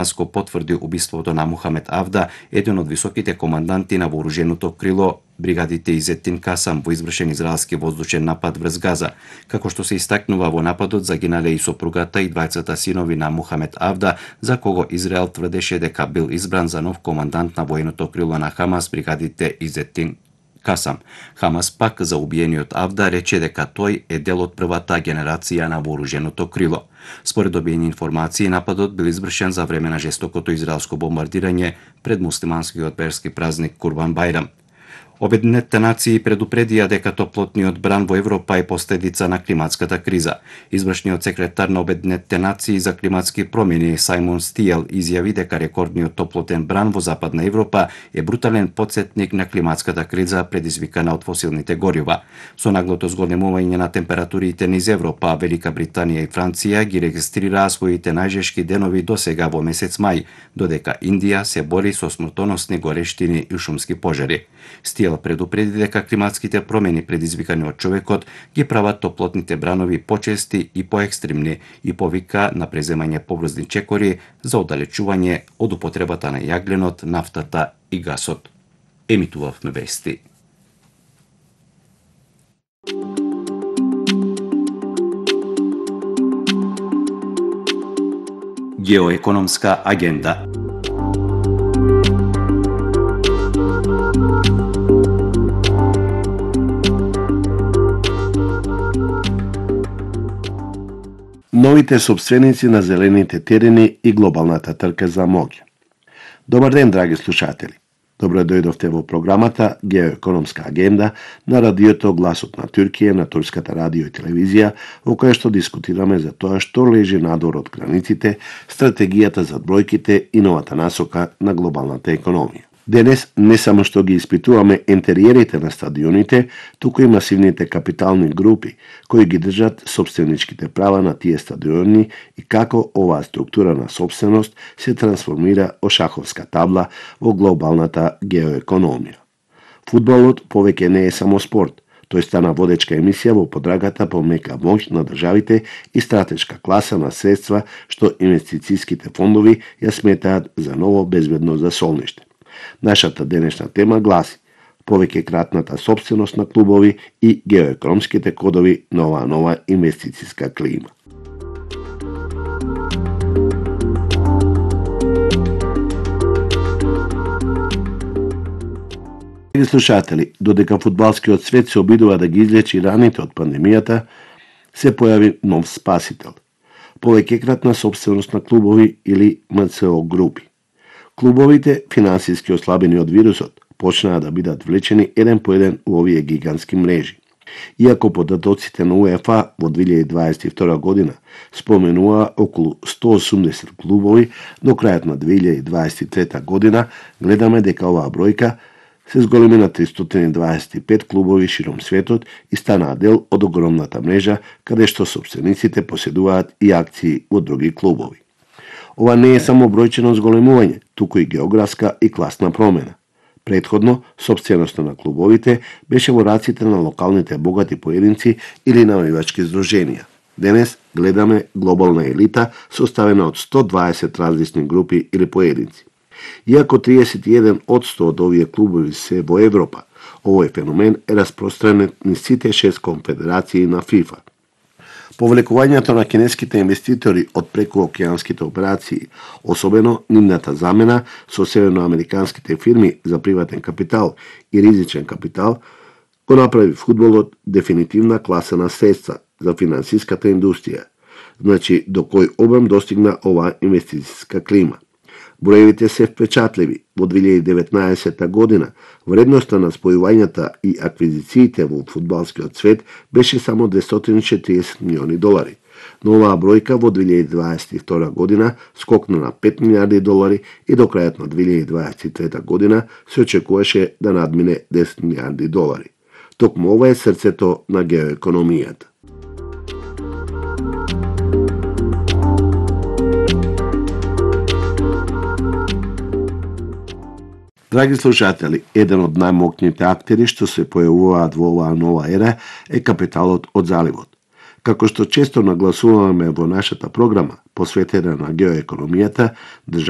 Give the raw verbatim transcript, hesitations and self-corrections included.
Дамаско потврди убиството на Мухамед Авда, еден од високите команданти на вооруженото крило бригадите Изетин Касам во извршен израелски воздушен напад врз Газа. Како што се истакнува во нападот загинале и сопругата и двајцата синови на Мухамед Авда, за кого Израел тврдеше дека бил избран за нов командант на военото крило на Хамас бригадите Изетин Касам. Хамас пак за убиениот Авда рече дека тој е дел од првата генерација на вооруженото крило. Според добиени информации, нападот бил извршен за време на жестокото израелско бомбардирање пред муслиманскиот верски празник Курбан Бајрам. Обединетите нации предупредија дека топлотниот бран во Европа е последица на климатската криза. Извршниот секретар на Обединетите нации за климатски промени Сајмон Стиел изјави дека рекордниот топлотен бран во Западна Европа е брутален потсетник на климатската криза предизвикана од фосилните горива. Со наглото зголемување на температурите низ Европа, Велика Британија и Франција ги регистрираа своите најжешки денови досега во месец мај, додека Индија се бори со смртоносни горештини и шумски пожари. Стиел предупреди дека климатските промени предизвикани од човекот ги прават топлотните бранови почести и поекстремни и повика на преземање побрзни чекори за оддалечување од употребата на јагленот, нафтата и гасот. Емитувавме вести. Геоекономска агенда. Новите собственици на зелените терени и глобалната трка за моќ. Добар ден, драги слушатели. Добро дојдовте во програмата Геоекономска агенда на радиото Гласот на Туркија, на турската радио и телевизија, во која што дискутираме за тоа што лежи надвор од границите, стратегијата за бројките и новата насока на глобалната економија. Денес не само што ги испитуваме ентериерите на стадионите, туку и масивните капитални групи кои ги држат собственичките права на тие стадиони и како оваа структура на собственост се трансформира од шаховска табла во глобалната геоекономија. Фудбалот повеќе не е само спорт, тој стана водечка емисија во подрагата по мека моќ на државите и стратешка класа на средства што инвестицијските фондови ја сметаат за ново безбедно засолниште. Нашата денешна тема гласи повеќе кратната собственост на клубови и геоекономските кодови на оваа нова инвестицијска клима. Драги слушатели, додека фудбалскиот свет се обидува да ги излечи раните од пандемијата, се појави нов спасител. Повеќе кратна собственост на клубови или ем це о групи. Клубовите, финансиски ослабени од вирусот, почнаа да бидат влечени еден по еден у овие гигантски мрежи. Иако податоците на УЕФА во две илјади дваесет и втора година споменува околу сто осумдесет клубови, до крајот на две илјади дваесет и трета година гледаме дека оваа бројка се зголеми на тристотини дваесет и пет клубови широм светот и станаа дел од огромната мрежа каде што собствениците поседуваат и акции во други клубови. Ова не е само бројчено зголемување, туку и географска и класна промена. Претходно, собственоста на клубовите беше во раците на локалните богати поединци или навивачки здруженија. Денес гледаме глобална елита составена од сто дваесет различни групи или поединци. Иако триесет и еден одсто од овие клубови се во Европа, овој феномен е распространет низ сите шест конфедерации на ФИФА. Повлекувањето на кинеските инвеститори од прекуокеанските операции, особено нивната замена со северноамериканските фирми за приватен капитал и ризичен капитал, го направи фудбалот дефинитивна класа на средства за финансиската индустрија, значи до кој обем достигна оваа инвестицијска клима. Броевите се впечатливи. Во две илјади и деветнаесета година вредноста на спојувањата и аквизициите во фудбалскиот свет беше само двестоти и четиридесет милиони долари. Но оваа бројка во две илјади дваесет и втора година скокна на пет милијарди долари и до крајот на две илјади дваесет и трета година се очекуваше да надмине десет милијарди долари. Токму ова е срцето на геоекономијата. Драги слушатели, еден од најмокните актери што се појавуваат во оваа нова ера е капиталот од заливот. Како што често нагласуваме во нашата програма, посветена на геоекономијата, државните